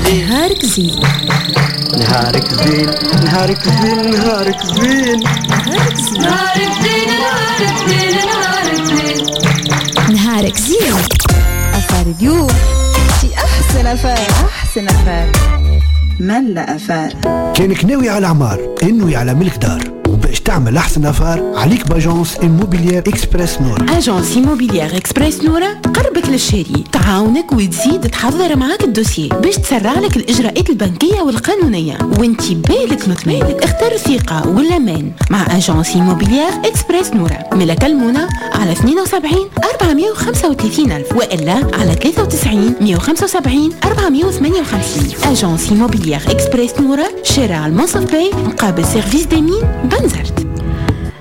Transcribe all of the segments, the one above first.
نهارك زين، نهارك زين، نهارك زين، نهارك زين، نهارك زين، نهارك زين، نهارك زين، نهارك زين، نهارك زين. affaire اليوم في أحسن affaire، أحسن affaire، ملا affaire. كانك ناوي على عمار، انوي على ملك دار، وباش تعمل احسن affaire عليك ب agence immobilière Express نور. agence immobilière Express نورة تقربك للشاري، تعاونك وتزيد تحضر معاك ال dossier باش تسرع لك الاجراءات البنكية والقانونيه، وانت بالك مطمئن. اختار الثقة والامان مع agence immobilière Express نورة. ملا كلمونا على 72 435 الف والا على 93 175 458. agence immobilière Express نورة، شارع المنصف باي، مقابل service des mines، بنزرت.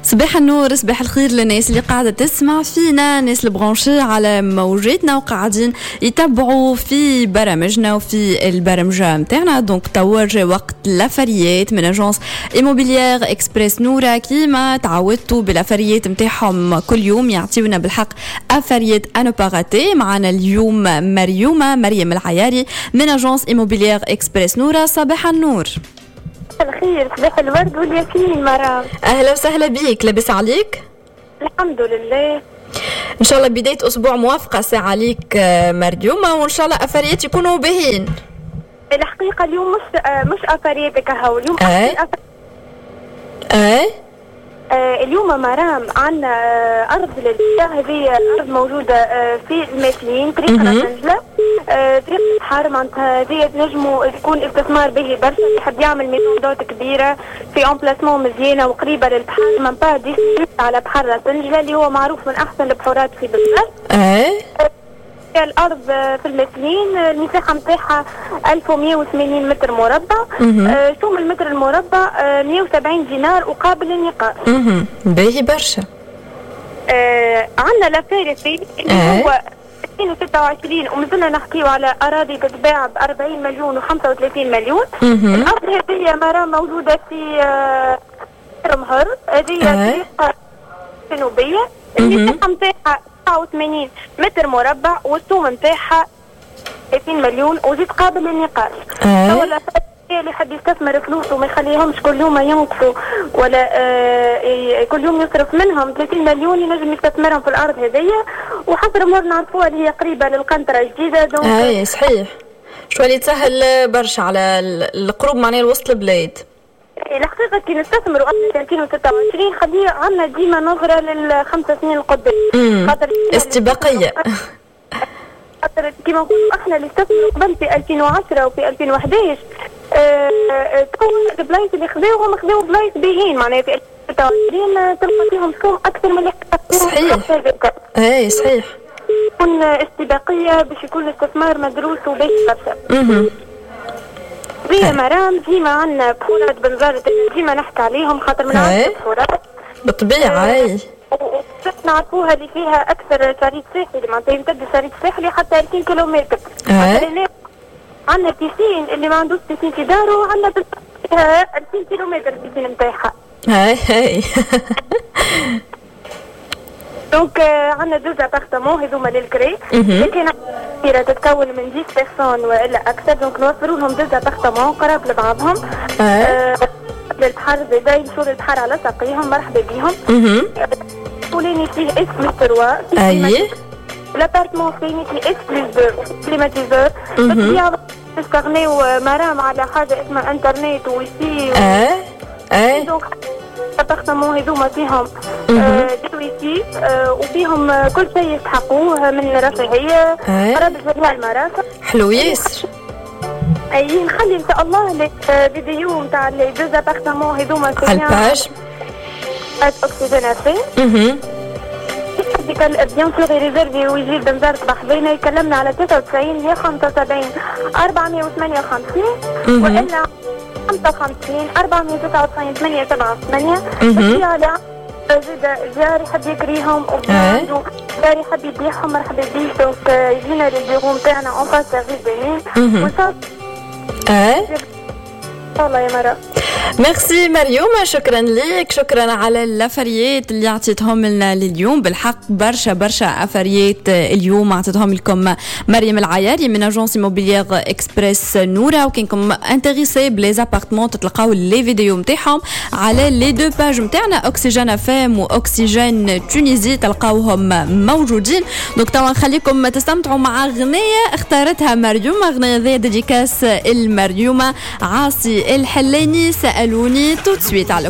صباح النور، صباح الخير للناس اللي قاعدة تسمع فينا، ناس ال branchés على موجاتنا وقاعدين يتبعوا في برامجنا وفي البرمجة متاعنا. donc توا جا وقت l'affaire من agence immobilière Express نورا. كيما تعودتوا بال affaire متاعهم كل يوم يعطيونا بالحق affaire à ne pas rater. معنا اليوم مريومة مريم العياري من agence immobilière Express نورا. صباح النور. الخير، صباح الورد والياسمين مرام. اهلا وسهلا بيك، لاباس عليك؟ الحمد لله. ان شاء الله بداية اسبوع موافقة ساعة عليك مريومه، وان شاء الله affaire ات يكونوا باهين. الحقيقة اليوم مش affaire اتك هاو اليوم. اي اي. اليوم مرام عندنا ارض للبيع، هذه ارض موجودة في المثلين، طريق راسنجلة، طريق البحر، معناتها هذه تنجموا تكون استثمار باهي برشا اللي يحب يعمل maison d'hôtes كبيرة في emplacement مزيانه وقريبه للبحر، même pas 10 على بحر راسنجلة اللي هو معروف من احسن البحورات في بنزرت. اي. الارض في المثلين المساحة نتاعها 1180 متر مربع، سوم المتر المربع 170 دينار وقابل للنقاش. باهي برشا. عندنا l'affaire الثاني اللي هو 2026 ومازلنا نحكيو على اراضي تتباع ب 40 مليون و35 مليون. الارض هذه مرة موجودة في مهر، هذه طريقه جنوبيه، المساحة نتاعها 89 متر مربع والسوم نتاعها 30 مليون وزيد قابل للنقاش. توا اللي حد يستثمر فلوسه وما يخليهمش كل يوم ينقصوا ولا كل يوم يصرف منهم 30 مليون، ينجم يستثمرهم في الارض هذيا. وحفر مهر نعرفوها اللي هي قريبه للقنطره الجديدة. donc اي صحيح، شو اللي تسهل برشا على القروب معناها لوسط البلاد. الحقيقة كي نستثمروا في 2026 خليه عندنا ديما نظرة للخمسة سنين القدام، خاطر استباقية. خاطر كيما نقولوا احنا اللي استثمروا قبل في 2010 وفي 2011 تو البلايص اللي خذاوهم خذاو بلايص باهين، معناها في 2026 تلقى فيهم سوم أكثر من اللي صحيح. اي صحيح، تكون استباقية باش يكون الاستثمار مدروس وباهي برشا. ديما مرام ديما عندنا بحورات بنزرت ديما نحكي عليهم خاطر من عند البحورات بالطبيعة. اي نعرفوها اللي فيها أكثر شريط ساحلي، معناتها يمتد الشريط الساحلي حتى 2000 كيلومتر. عندنا piscine اللي ما عندوش piscine في داره، عندنا فيها 2000 كيلومتر ال piscine نتاعها. اي اي. donc عندنا deux appartements هذوما للكري، لكن كبيرة تتكون من 10 personnes والا اكثر، donc نوفروا لهم deux appartements قراب لبعضهم للبحر، زادا يمشوا للبحر على ساقيهم، مرحبا بهم. الاولاني فيه S plus 3، اي l'appartement الثاني فيه S plus 2 climatiseur. بالطبيعة نستغنيو مرام على حاجة اسمها انترنت ويفي. اي donc appartements هذوما فيهم des wifi وفيهم كل شيء يستحقوه من رفاهية، قرب جميع المرافق. حلو ياسر. اي نخلي ان شاء الله الفيديو نتاع les deux appartements هذوما على ال page Oxygène FM. bien sûr réserver ويجي بنزرت بحذينا، يكلمنا على 93 175 458 والا 55 499 878. على زيد جار يحب يكريهم وعنده جار يحب يبيعهم مرحبا بيه. donc يجينا للبيرو نتاعنا en face service des mines. وان شاء الله يا مرام. ميرسي مريومة، شكرا لك، شكرا على الافاريات اللي عطيتهم لنا لليوم. بالحق برشا برشا افاريات اليوم عطيتهم لكم مريم العياري من agence immobilière Express نورا. وكانكم intéressés ب les appartements، تتلقاو les vidéos نتاعهم على les deux pages نتاعنا، Oxygène FM و Oxygène Tunisie، تلقاوهم موجودين. donc توا نخليكم تستمتعوا مع غنية اختارتها مريومة، غنية ذي dédicace المريومة، عاصي الحلاني، سألوني، tout de suite على